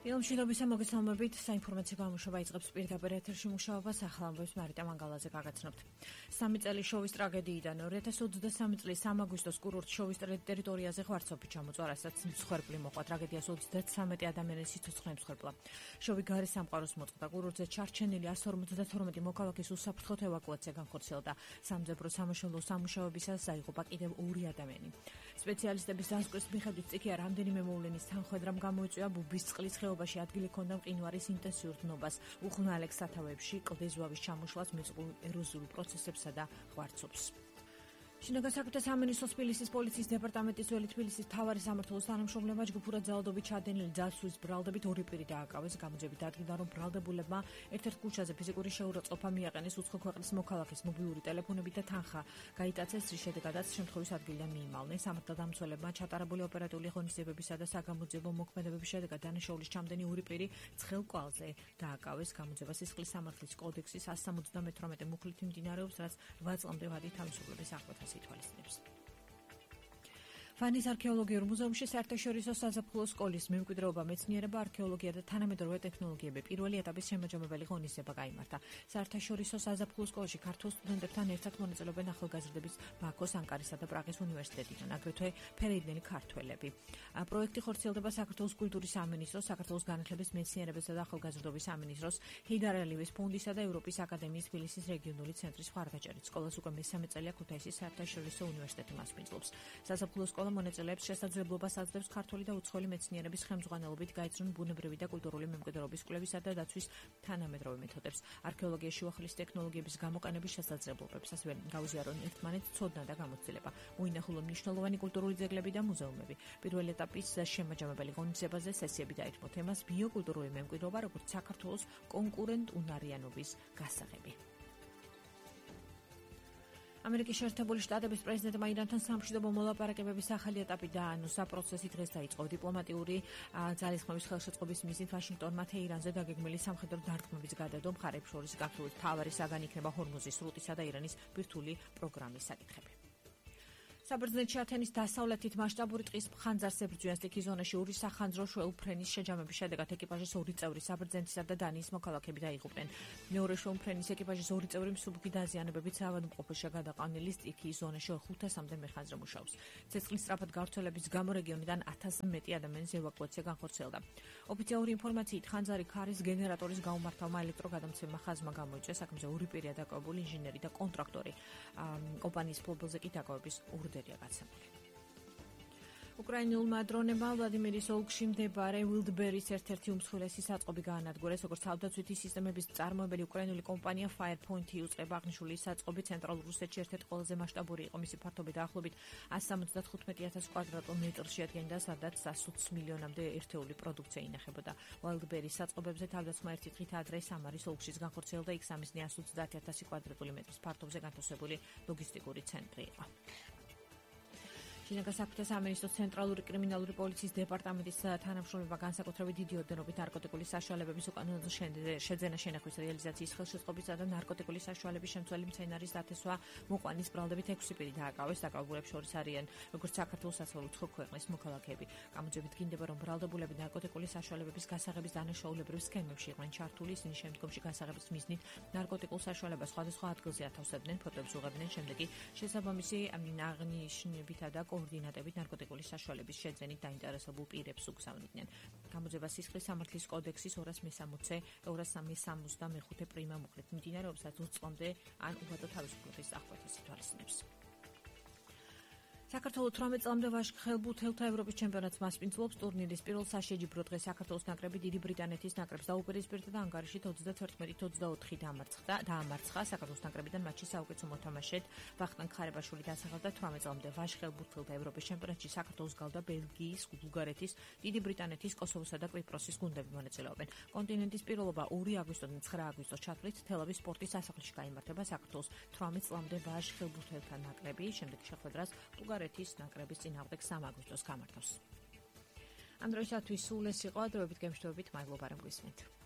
დილომშვიდობის მოგესალმებით, საინფორმაციო გამოშვება იწყებს პირდაპირ ეთერში მუშაობას ახალამბებს მარიტა მანგალაძე გაგაცნობთ. 3 წელი შოვის ტრაგედიიდან 2023 წლის 3 აგვისტოს კურორტ შოვის ტერიტორიაზე ღვარცობი ჩამოწვა, რასაც მსხვერპლი მოყვა. ტრაგედიას 33 ადამიანის სიცოცხლე მსხვერპლა. შოვი გარე სამყაროს მოწყდა. კურორტზე ჩარჩენილი 152 მოქალაქის უსაფრთხოდ ევაკუაცია განხორციელდა. სამძებრო სამაშველო სამუშაოებისას აიღობა კიდევ 2 ადამიანი. სპეციალისტების დასკვნის მიხედვით წიქია რამდენიმე მოვლენის თანხმედრამ გამოიწვია ბუბის წყლის ხეობაში ადგილი ჰქონდა მყინვარის ინტენსიურ დნობას, უხნალექ სათავეებში კლდის ზვავის ჩამოშლას, მიწულ ეროზიულ პროცესებსა და ღვარცობს. შინაგან საქმეთა სამინისტროს თბილისის პოლიციის დეპარტამენტის ძველი თბილისის მთავარი სამმართველოს თანამშრომლებმა ჯგუფურად ძალადობით ჩადენილი ძაცვის ბრალდებით 2 პირი დააკავეს. გამოძებით დადგინდა, რომ ბრალდებულებმა ერთ-ერთ ქუჩაზე ფიზიკური შეურაცხყოფა მიაყენეს, უცხო ქვეყნის მოქალაქის მობილური ტელეფონები და თანხა გაიტაცეს, რის შედეგადაც შემთხვევის ადგილიდან მიიმალნენ. სამართალდამცველებმა ჩატარებული ოპერატიული ღონისძიებებისა და საგამოძიებო მოქმედებების შედეგად დანაშაულის ჩამდენი 2 პირი ცხელ კვალზე დააკავეს. გამოძიება სისხლის სამართლის კოდექსის 178 მუხლით მიმდინარეობს, რაც 8 წლამდე ვადით თავისუფლების აღკვეთას ითვალისწინებს. ფანის არქეოლოგიურ მუზეუმში საერთაშორისო საზაფხულო სკოლის მემკვიდრეობა, მეცნიერება, არქეოლოგია და თანამედროვე ტექნოლოგიები პირველი ეტაპის შემაჯამებელი ღონისძიება გაიმართა. საერთაშორისო საზაფხულო სკოლაში ქართულ სტუდენტებთან ერთად მონაწილეობენ ახალგაზრდების ბაქოს, ანკარისა და პრაღის უნივერსიტეტიდან, აგრეთვე ფერეიდნელი ქართველები. პროექტი ხორციელდება საქართველოს კულტურის სამინისტროს, საქართველოს განათლების, მეცნიერებისა და ახალგაზრდობის სამინისტროს, ჰეიდარ ალიევის ფონდისა და ევროპის აკადემიის თბილისის რეგიონული ცენტრის მხარდაჭერით. სკოლას უკვე მესამე წელია ქუთაისის საერთაშორისო უნივერსიტეტი მასპინძლობს. საზაფხულო სკოლა მონაწილეებს შესაძლებლობას აძლევს ქართული და უცხოელი მეცნიერების ხელმძღვანელობით გაეცნონ ბუნებრივი და კულტურული მემკვიდრეობის კვლევისა და დაცვის თანამედროვე მეთოდებს, არქეოლოგიაში უახლის ტექნოლოგიების გამოყენების შესაძლებლობებს, ასევე გაუზიარონ ერთმანეთს ცოდნა და გამოცდილება, მოინახულონ მნიშვნელოვანი კულტურული ძეგლები და მუზეუმები. პირველი ეტაპის შემაჯამებელი ღონისძიებაზე სესიები დაითმო თემას ბიოკულტურული მემკვიდრეობა, როგორც საქართველოს კონკურენტუნარიანობის გასაღები. ამერიკის შეერთებული შტატების პრეზიდენტმა ირანთან სამშვიდობო მოლაპარაკებების ახალი ეტაპი დაანონსა. პროცესი დღეს დაიწყო. დიპლომატიური ძალისხმევის ხელშეწყობის მიზნით ვაშინგტონმა თეირანზე დაგეგმილი სამხედრო დარტყმების გადადო. მხარეებს შორის გათვლით მთავარი საგანი იქნება ჰორმუზის სრუტისა და ირანის ბირთვული პროგრამის საკითხები. საბერძნეთში ათენის დასავლეთით მასშტაბური ტყის ხანძარს ებრძვიან სტიქის ზონაში 2 სახანძრო შვეულფრენის შეჯამების შედეგად ეკიპაჟის 2 წევრი საბერძნეთისა და დანიის მოქალაქეები დაიღუპნენ. მეორე შვეულფრენის ეკიპაჟის 2 წევრი მსუბუქი დაზიანებებით საავადმყოფოში გადაყვანილი სტიქის ზონაში 500-მდე მეხანძრე მუშაობს. ცეცხლის სწრაფად გავრცელების გამო რეგიონიდან 1000-ზე მეტი ადამიანის ევაკუაცია განხორციელდა. ოფიციალური ინფორმაციით ხანძარი ქარის გენერატორის გაუმართავმა ელექტროგადამცემმა ხაზმა გამოიწვია. საქმეზე 2 პირია დაკავებული, ინჟინერი და კონტრაქტორი. კომპანიის ფლობელზე კი დაკავების ურდერია გაცემული. უკრაინულმა დრონებმა ვლადიმირის ოლქში მდებარე ვილდბერის ერთ-ერთი უმსხვილესი საწყობი გაანადგურეს. როგორც თავდაცვითი სისტემების მწარმოებელი უკრაინული კომპანია Firepoint იუწყება, აღნიშნული საწყობი ცენტრალურ რუსეთში ერთ-ერთი ყველაზე მასშტაბური იყო. მისი ფართობი დაახლოებით 175,000 კვადრატულ მეტრს შეადგენდა, სადაც 120 მილიონამდე ერთეული პროდუქცია ინახებოდა. ვილდბერის საწყობებზე თავდაცმა ერთი დღით ადრე სამარის ოლქშიც განხორციელდა. იქ სამიზნე 130,000 კვადრატული მეტრის ფართობზე განთავსებული ლოგისტიკური ცენტრი იყო. შინაგან საქმეთა სამინისტროს ცენტრალური კრიმინალური პოლიციის დეპარტამენტის თანამშრომლებმა განსაკუთრებით დიდი ოდენობით ნარკოტიკული საშუალებების უკანონო შეძენა შენახვის რეალიზაციის ხელშეწყობისა და ნარკოტიკული საშუალების შემცველი მცენარის დათესვა მოყვანის ბრალდებით 6 პირი დააკავეს. დაკავებულებს შორის არიან როგორც საქართველოს, ასევე უცხო ქვეყნის მოქალაქეები. გამოძიებით გინდება, რომ ბრალდებულები ნარკოტიკული საშუალებების გასაღების დანაშაულებრივ სქემებში იყვნენ ჩართული. ისინი შემდგომში გასაღების მიზნით ნარკოტიკულ საშუალებას სხვადასხვა ადგილზე ათავსებდნენ, ფოტოებს უღებდნენ, შემდეგ კი შესაბამისი აღნიშნებითა და კოორდინატებით ნარკოტიკული საშუალების შეძენით დაინტერესებულ პირებს უგზავნიდნენ. გამოძიება სისხლის სამართლის კოდექსის 265 პრიმა მუხლით მიმდინარეობს, რაც 20 წლამდე ან უღადო თავისუფლების აღკვეთას ითვალისწინებს. საქართველოს 18 წლამდე ვაშხელბურთელთა ევროპის ჩემპიონატს მასპინძლობს. ტურნირის პირველ საშეჯიბრო დღეს საქართველოს ნაკრები დიდი ბრიტანეთის ნაკრებს დაუპირისპირდა და ანგარიში 31-24 დაამარცხა. საქართველოს ნაკრებიდან მატჩი საუკეთესო მოთამაშედ ვახტანგ ხარებაშვილი დასახელდა. 18 წლამდე ვაშხელბურთელთა ევროპის ჩემპიონატში საქართველოს გავდა ბელგიის, ბულგარეთის, დიდი ბრიტანეთის, კოსოვოსა და კვიპროსის გუნდები მონაწილეობენ. კონტინენტის პირველობა 2 აგვისტოდან 9 აგვისტოს ჩათვლით თელავის სპორტის სასახლეში გაიმართება. საქართველოს 18 წლამდე ვაშხელბურთელთა ნაკრები შემდეგ შეხვედრას ბულგარეთის ნაკრების წინააღმდეგ 3 აგვისტოს გამართავს. ამ დროისათვის სულ ეს იყო. დროებით გემშვიდობით, მადლობა რომ გვისმენთ.